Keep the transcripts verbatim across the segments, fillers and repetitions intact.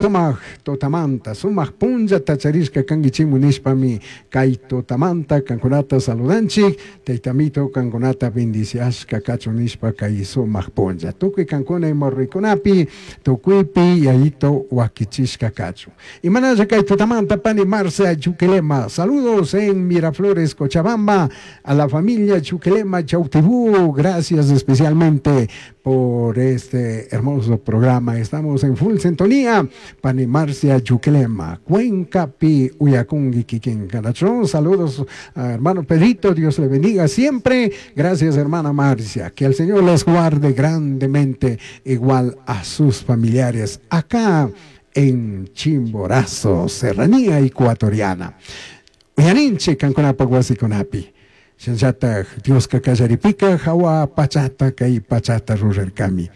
Sumak tutamanta, sumak punllata charishka kankichikmu nishpami kay tutamanta kankunata saludanchik, Taytamito kankunata bendiciashka kachun nishpa kay sumak punlla. Tukuy kankuna imorrikunapi, tukuypi yayito wakichishka kachun. Imanalla kay tutamanta pani Marcia Chuquilema, saludos en Miraflores, Cochabamba, a la familia Chuquilema Chautibú, gracias especialmente por este hermoso programa. Estamos en full sintonía. Pani Marcia Yuquilema, Cuenca Pi Uyakungi Kikin Canachón. Saludos, hermano Pedrito, Dios le bendiga siempre. Gracias, hermana Marcia. Que el Señor les guarde grandemente, igual a sus familiares acá en Chimborazo, Serranía Ecuatoriana. Uyarinche, kankunapa wasikunapi. Shinllataj Dioska kallaripika hawa pachata kay pachata rurarkami.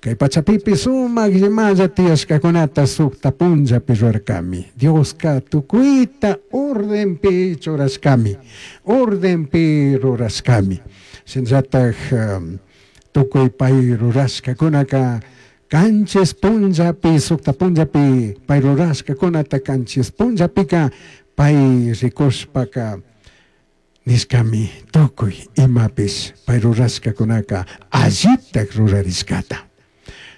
Kay pachapipi sumak imalla tiyashkakunata sukta punllapi rurarkami. Dioska tukuyta ordenpi churashkami, ordenpi rurashkami. Shinllataj um, tukuy pay rurashkakunaka kanchis punllapi sukta punllapi pay rurashkakunata kanchis punllapika pay rikushpaka nishkami tukuy imapish pay rurashkakunaka allitak rurarishkata.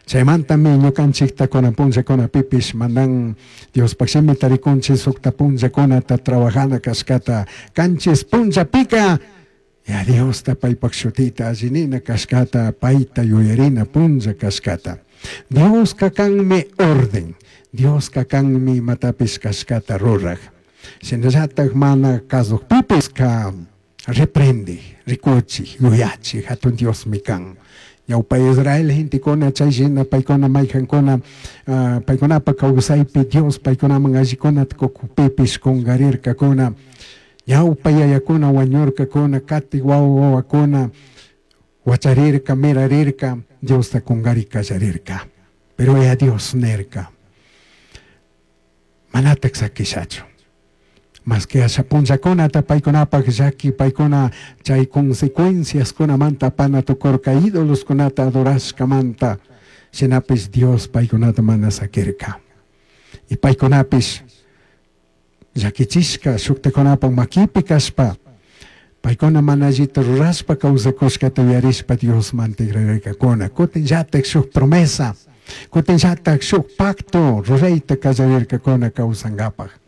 Chaymantami ñukanchikta kunan punllakunapipish mandan Diospaq shimita rikunchik sukta punllakunata trabajana kashkata kanchis punllapika ya Diosta paypak shutita allinina kashkata payta yuyarina punlla kashkata. Dioska kanmi orden, Dioska kanmi imatapish kashkata ruraj. Shinallatak mana kasukpipis ka reprende, rikuchik, yuyachik, hatun Diosmi kan. Ñawpa Israel gentekuna chay shina paykuna mayjankuna uh, paykunapa kawsaypi Dios paykunaman allikunata kukupipis kungarirkakuna ñawpa yayakuna wañurkakuna katik wawa wawakuna wacharirka mirarirka Diosta kungari kallarirka pero ya Dios nirka manatak sakishachu más que asha punllakunata paykunapak llaki paykuna chay consecuenciaskunamanta pana tukurka ídoloskunata adorashkamanta shinapish Dios paykunata mana sakirka y paykunapish llakichishka shuktakunapak makipi kashpa paykuna mana allita rurashpa kawsakushkata yuyarishpa Diosman tigrarirkakuna kutin llatak shuk promesa kutin llatak shuk pacto rurayta kallarirkakuna kawsankapak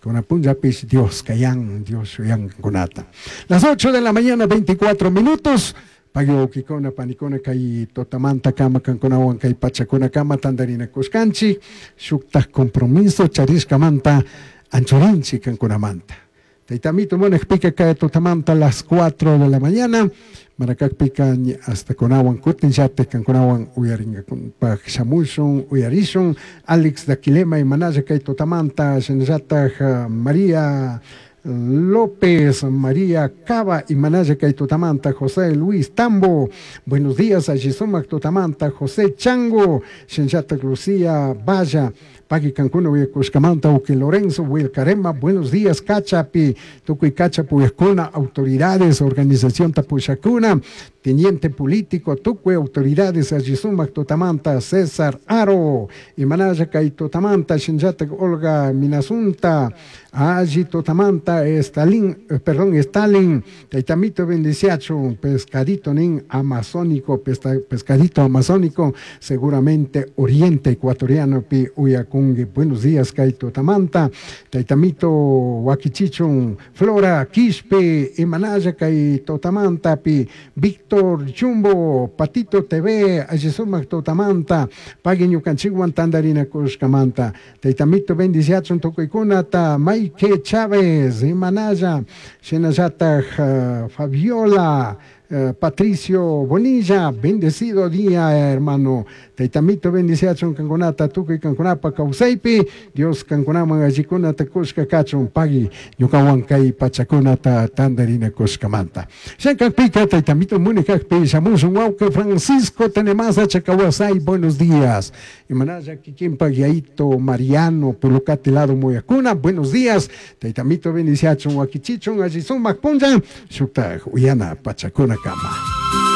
Kuna punllapis Dios kayan, Dios shuyankunata. Las ocho de la mañana, veinticuatro minutos. Pagyo panikuna kay totamanta kama kankunawan kay pachakuna kama tandarina kushkanchik shuktaj compromiso charishkamanta anchurinchik kankunamanta. Taytamito munakpika kay totamanta las cuatro de la mañana. Manakakpika hasta kunawan kutin llatik kankunawan uyarinkakunpak shamushun uyarishun Alex Daquilema y Manaya kay totamanta shinallataj María López, María Cava y Manaya kay totamanta José Luis Tambo. Buenos días a Gisumac totamanta José Chango, shinallataj Lucía Valla, Pagui Cancún, Uyacushcamanta, Uki Lorenzo, Wilcarema, buenos días, Cachapi, Tucuy Cachapu, Uyacuna, autoridades, organización Tapuchacuna, teniente político, Tucuy, autoridades, Ayisumac, Totamanta, César Aro, y Manaya kay Totamanta, Shinjata, Olga Minasunta, Ayi Totamanta, Stalin, eh, perdón, Stalin, Taitamito Bendiciacho, pescadito nin amazónico, pesca, pescadito amazónico, seguramente oriente ecuatoriano, pi Uyacungue. Buenos días, kay Totamanta, Taitamito Wakichichun, Flora Quispe, Imanaya kay Totamanta, pi Víctor Chumbo, Patito T V, Ayisumac Totamanta, Pagui ñukanchikwan tandarina kushkamanta, Taitamito Bendiciachun tukuykunata, Maike Chávez, Imanaya, shinallataj uh, Fabiola, uh, Patricio Bonilla, bendecido día, hermano. Taitamito bendiciachun kankunata, tukuy kankunapa kawsaypi, Dios kankunaman allikunata kushka kachun, pagui ñukawan kay pachakunata tandarina kushkamanta. Shankakpika, Taitamito munikakpi, shamushun wawqi Francisco Tenemasa Chacawasay, buenos días. Imanaya kikinpa Yaito Mariano, Pulucati lado Muyacuna, buenos días. Taitamito bendiciachun wakichichun, allisumak punlla, shuktaj uyana pachakuna kama.